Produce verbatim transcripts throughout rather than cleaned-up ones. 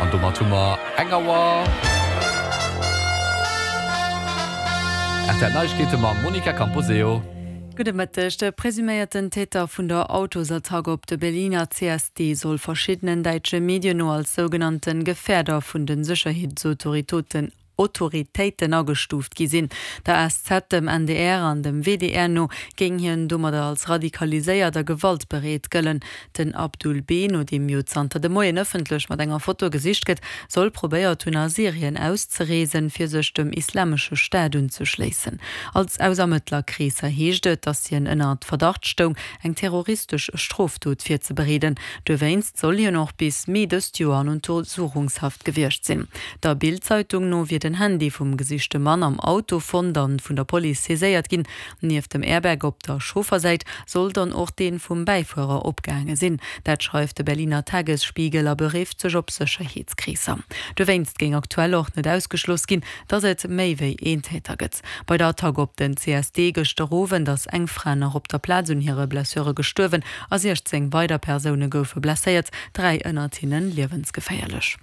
An domat hu mer eng Auer. R T L Neiegkeete mam Monica Camposeo. Gudde Mëtteg. De presuméierten Täter vun der Autosattack op de Berliner C S D soll verschiddenen däitsche Medien no als sougenannte Gefährder vun de Sécherheetsautoritoten Autoritéiten agestuuft gi sinn. Der S Z, dem N D R an dem W D R no géing hien domadder als radikaliséiert a gewaltbereet gëllen. Den Abdul B., no deem jo zanter de Moien ëffentlech mat enger Foto gesicht gëtt, soll probéiert hunn a Syrien auszereesen, fir sech dem Islamesche Staat unzeschléissen. Als aus Ermëttlerkreesser heescht et, datt hien ënner Verdacht stoung, eng terroristesch Strofdot virzebereeden. Dowéinst soll hien och bis Mee dëst Joer an Untersuchungshaft gewiescht sinn. Der Bild-Zeitung no wier den Handy vum gesichte Mann am Auto fonnt an vun der Police saiséiert ginn. Nieft dem Airbag op der Chauffersäit soll dann och dee vum Bäifuerer opgaange sinn. Dat schreift de Berliner Tagesspiegel a berifft sech op Sécherheetskreesser. Dowéinst géing aktuell och net ausgeschloss ginn, datt et méi wéi een Täter gëtt. Bei der Attack op den C S D gëschter Owend ass eng Fra nach op der Plaz un hire Blessure gestuerwen a siechzéng weider Persoune goufe blesséiert, dräi ënnert hinne liewensgeféierlech.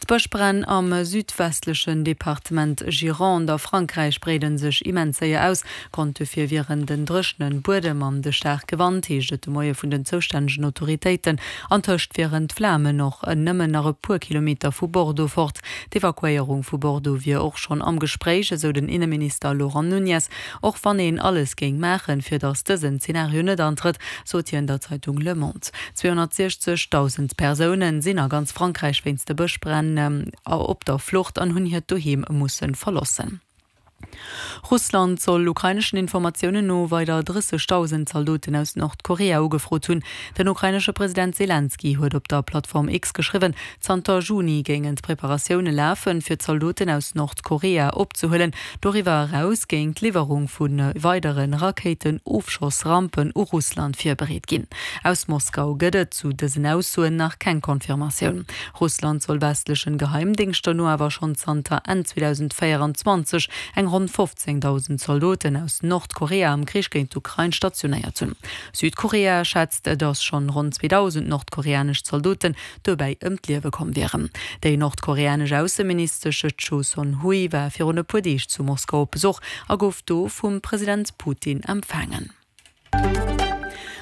D'Bëschbränn am südwestlechen Departement Gironde a Frankräich breede sech immens séier aus. Grond dofir wieren den dréchene Buedem an de staarke Wand, heescht et de Moie vun den zoustännegen Autoritéiten. Antëscht wieren d'Flamen och nëmmen nach e puer Kilometer vu Bordeaux fort. D'Evakuéierung vu Bordeaux wier och schonn am Gespréich, esou den Inneminister Laurent Nunez. Och wann een alles géing maachen, fir datt dësen Zenario net antrëtt, sot hien der Zeitung Le Monde. Zweehonnertsiechzegdausend Persoune sinn a ganz Frankräich wéinst de Bëschbränn op der Flucht an hunn hiert Doheem musse verloossen. Russland soll ukraineschen Informatiounen no weider drëssegdausend Zaldoten aus Nordkorea ugefrot hunn. Den ukrainesche President Selenskyj huet op der Plattform X geschriwwen, zanter Juni géingen d'Preparatioune lafen, fir Zaldoten aus Nordkorea opzehuelen. Doriwwer eraus géing d'Liwwerung vu weidere Rakéitenofschossrampen u Russland virbereet ginn. Aus Moskau gëtt et zu dësen Aussoen nach keng Confirmatioun. Russland soll westlechen Geheimdéngschter no awer schonn zanter Enn zweedausendvéieranzwanzeg eng ronn fofzéngdausend Zaldoten aus Nordkorea am Krich géint d'Ukrain stationéiert hunn. Südkorea schätzt, datt schonn ronn zweedausend nordkoreanesch Zaldoten dobäi ëm d'Liewe komm wieren. Déi nordkoreanesch Ausseministesch Choe Son-hui war virun e puer Deeg zu Moskau op Besuch a gouf do vum President Putin empfaangen.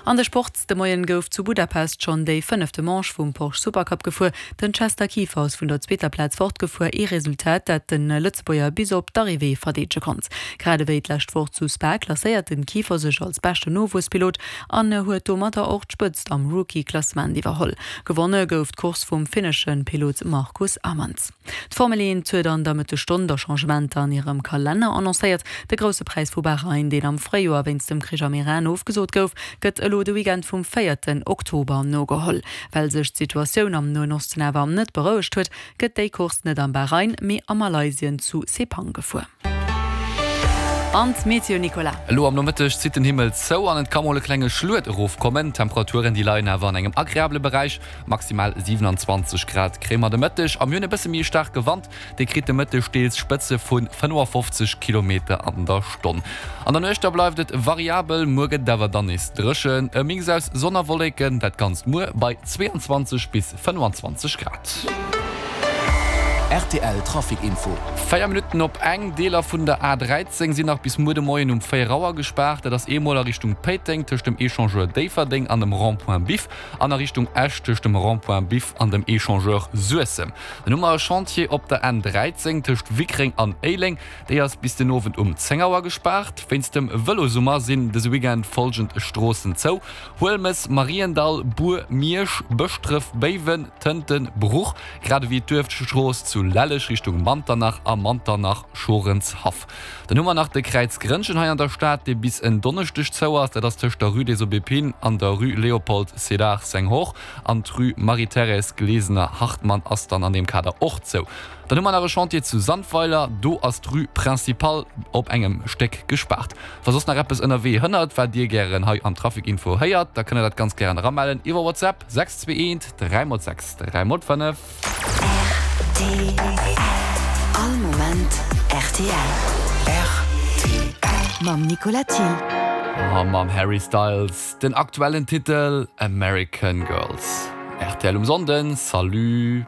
An de Sport: De Moien gouf zu Budapest schonn déi fënnefte Manche vum Porsche Supercup gefuer. Den Chester Kieffer ass vun der zweeter Plaz fortgefuer, ee Resultat, dat de Lëtzebuerger bis op d'Arrivée verdeedege konnt. Grad ewéi d'lescht Woch zu Spa klasséiert den Kieffer sech als beschten Nowuesspilot an huet domadder och d'Spëtzt am Rookie-Klassement iwwerholl. Gewonne gouf d'Course vum finnesche Pilot Marcus Amans. D'Formel eent huet an der Mëttesstonn da Changementer an hirem Kalenner annoncéiert. De Grousse Präis vu Bahrain, deen am Fréijoer wéinst dem Krich am Iran ofgesot gouf, gëtt elo de Weekend vum véierten Oktober nogeholl. Well sech d'Situatioun am Noen Osten awer net berouegt huet, gëtt déi Course net am Bahrain, mee a Malaysien zu Sepang gefuer. An d'Meteo, Nicolas. Elo am Nomëtteg zitt den Himmel zou an et ka mol e klenge Schluet erofkommen. D'Temperaturen déi leien awer an engem agreabele Beräich, maximal siewenanzwanzeg Grad kréie mer de Mëtteg. A mir hunn e bësse méi e staarke Wand, dee kritt de Mëtteg deels Spëtze vu fënnefafofzeg Kilometer an der Stonn. An der Nuecht da bleift et variabel, muer gëtt et awer dann nees dréchen. E Mix aus Sonn a Wolleken, dat Ganzt muer bei zweeanzwanzeg bis fënnefanzwanzeg Grad. R T L Trafic Info. Véier Minutten op eng, Deeler vun der A dräizéng sinn nach bis muer de Moien um véier Auer gespaart. Dat ass eemol a Richtung Péiteng tëscht dem Echangeur Déifferdeng an dem Rond-point Biff an a Richtung Esch tëscht dem Rond-point Biff an dem Echangeur Suessem. Dann hu mer e Chantier op der N dräizéng tëscht Wickreng an Éileng. Déi ass bis den Owend um zéng Auer gespaart. Wéinst dem Vëlosummer sinn dëse Weekend follgend Stroossen zou, Huelmes, Mariendall, Bur, Miersch, Bëschdref, Béiwen, Tënten, Bruch, grad ewéi d'Duerfstrooss zu Lelleg Richtung Manternach a Manternach, Schorenshaff. Dann hu mer nach de Kräiz Grënnchen hei an der Stad, dee bis en Donneschdeg zou ass. Dat ass tëscht der Rue des Aubépines an der Rue Léopold Sédar Senghor. An d'Rue Marie-Thérèse Glesener-Hartmann ass dann an deem Kader och zou. Dann hu mer nach e Chantier zu Sandweiler, do ass d'Rue Principale op engem Stéck gespaart. Wa soss nach eppes ënnerwee hënnert, wat Dir gären hei am Trafic Info héiert, da kënnt Der dat ganz gären eramellen iwwer WhatsApp, sechs zwee eent dräi mol sechs dräi mol fënnef. R T L. All Moment R T L. R T L. Mam Nicolas Thiel. A mam Harry Styles, den aktuellen Titel American Girls. R T L um Sonnden, salut.